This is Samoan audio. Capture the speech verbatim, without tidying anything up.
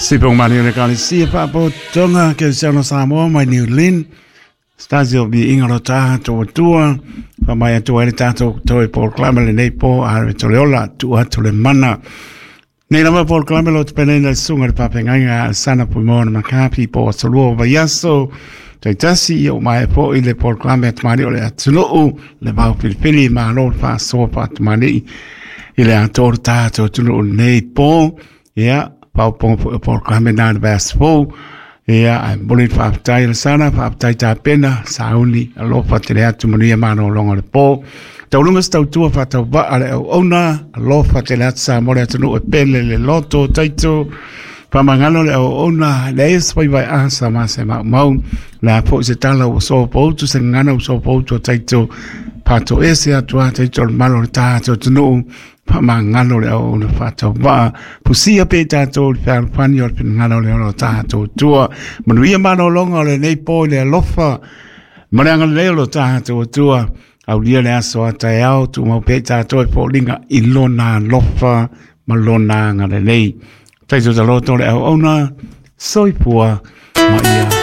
Sipong mani o le kalisia faapotoga kerisiano Samoa mai New Zealand. Stasi o viiga o lo tatou Atua, faamai atu ai le tatou toe polokalame lenei po a le tole ola tuu atu le mana. Nei lava polokalame lo tapenaina e le susuga i le faafeagaiga a Sana Fuimaono Makapi po o aso lua o vaiaso taitasi ia ua maea foi le polokalame a tamalii o le atunuu le vao filifili malo le faasoa faatamalii i le atoa o le tatou atunuu lenei po. Ia faaopoopoga foi o polokalame na le vaiaso fou. Ia ae momoli le faafetai i le sana, faafetai tapena, sauni, alofa tele atu manuia malologa o le po. Tauluga se tautua faatauvaa le auauna, alofa tele atu Samoa le atunuu e pele le loto taito. Faamagalo le auauna, leai se faivaeaa sa ma se maumau. Le a foi se tala ua sopoutu, se gagana ua sopoutu o taito. Faatoese atu a taito o le malo o le tatou atunuu. Faamagalo le auauna faatauvaa. Fusia pea i tatou i le fealofani o le finagalo o le ola o tatou Atua. Manuia malologa o lenei po i le alofa ma le agalelei o lo tatou Atua. Aulia le aso a taeao, tumau pea i tatou e foliga i lona alofa ma lona agalelei. Taito taloto le auauna, soifua ma ia.